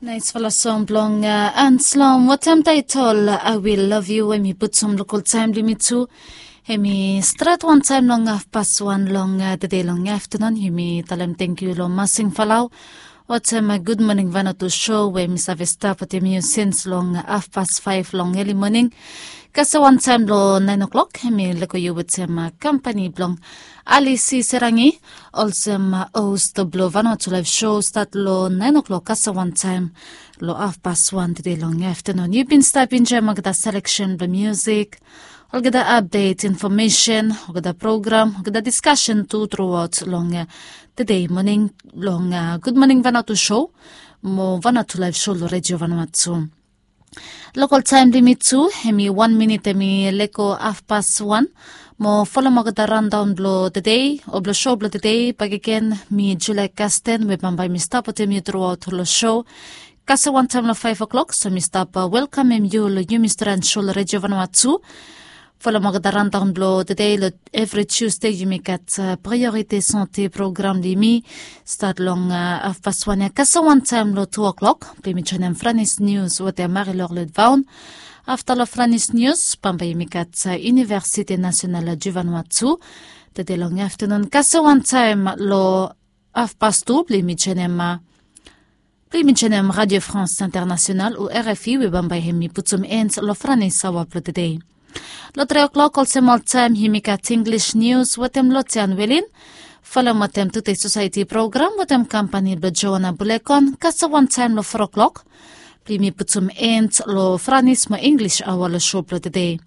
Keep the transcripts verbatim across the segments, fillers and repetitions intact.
Naisfala song blong Anslom, watem taitol I Will Love You, em i putum lokol taem blong yumi tu. Em i stret wantaem long hafpas wan long tede long aftenun. Yumi talem tangkiu long Masing Falau watem Gud Moning Vanuatu show we mi save stap wetem yu sins long hafpas faef long eli moning. Kasem wantaem long naen o'klok em i leko yu wetem kampani blong Alisi Serangi olsem host blong Vanuatu Laef show stat long naen o'klok kasem wantaem long hafpas wan tede long aftenun. Yu bin stap enjoem olgeta seleksen blong musik, olgeta apdet, infomesen, olgeta program, olgeta diskasen tu truaot long tede moning long Gud Moning Vanuatu show mo Vanuatu Laef show long Redio Vanuatu. Lokol taem blong yumi tu em i wan minit em i leko hafpas wan. Mo folem olgeta raondaon blong tede o blong show blong tede bakegen, mi Julia Kasten we bambae mi stap wetem yu truaot long show. Kasem wantaem long faef o'klok so mi stap welkamem yu long yumi stret show long Redio Vanuatu. Folem olgeta raondaon blong tede long evri Tusde yumi gat Priorite Sante program blong yumi stat long hafpas wan ya kasem wantaem long tu o'klok blong yumi joenem Franis Nius wetem Marilor Ludvaon. Afta long Franis Nius bambae yumi gat Universite Nasional Juvanuatu tede long aftenun kasem wantaem long hafpas tu blong yumi joenem blong yumi joenem Radio France International o R F I we bambae hem i putum en long Franis aoa blong tede. Long tri o'klok olsem oltaem yumi gat Inglis nius wetem Lotian Welin. Folem wetem Tude Sosaeti program wetem kampani blong Joana Bulekon kasem wantaem long fo o'klok blong yumi putum en long Franis mo Inglis aoa long show blong tede.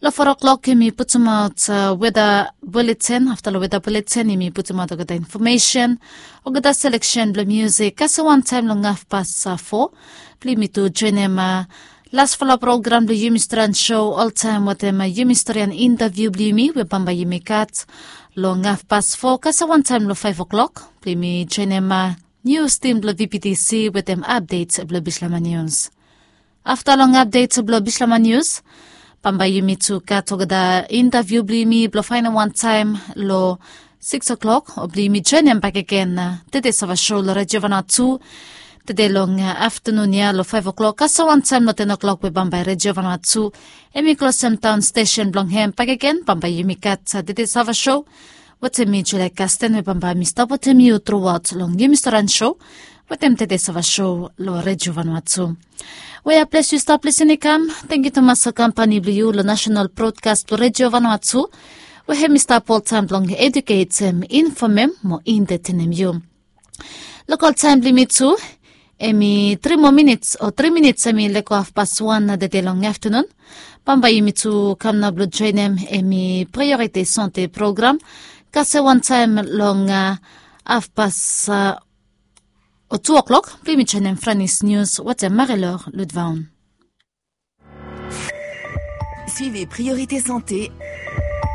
Long fo o'klok yumi putumaot weda buleten. Afta long weda buleten yumi putumaot olgeta infomesen, olgeta seleksen blong musik kasem wantaem long hafpas fo blong yumi tu joenem lasfala program blong yumi stret show oltaem wetem yumi storian intaviu blong yumi we bambae yumi gat long hafpas fo kasem wantaem long faef o'klok blong yumi joenem nius tim blong V P T C wetem apdet blong Bislama Nius. Afta long apdet blong Bislama Nius bambae yumi tu gat olgeta intaviu blong yumi blong faenem wantaem long sikis o'klok o blong yumi joenem bakegen Tede Sava show long Redio Vanuatu tede long aftenun ya long faef o'klok kasem wantaem long ten o'klok we bambae Redio Vanuatu hem i klosem taon stesen blong hem bakegen bambae yumi gat Tede Sava show wetem mi Julia Kasten we bambae mi stap wetem yu truaot long yumi storian show wetem Tede Sava show long Redio Vanuatu. We ya ples yu stap lisin i kam, tangkiu tumas long kampani blong yu long Nasenal Brodkas blong Redio Vanuatu we hem i stap oltaem blong eduketem, infomem mo entetenem yu. Lokol taem blong yumi tu hem i tri moa minits o tri minits hem i leko hafpas wan na tede long aftenun. Bambae yumi tu kam nao blong joenem hem i Priorite Sante program kasem wantaem long hafpas o tu o'klok blong yumi joenem Franis Nius wetem Marilor Ludvaon. Suivez Priorité Santé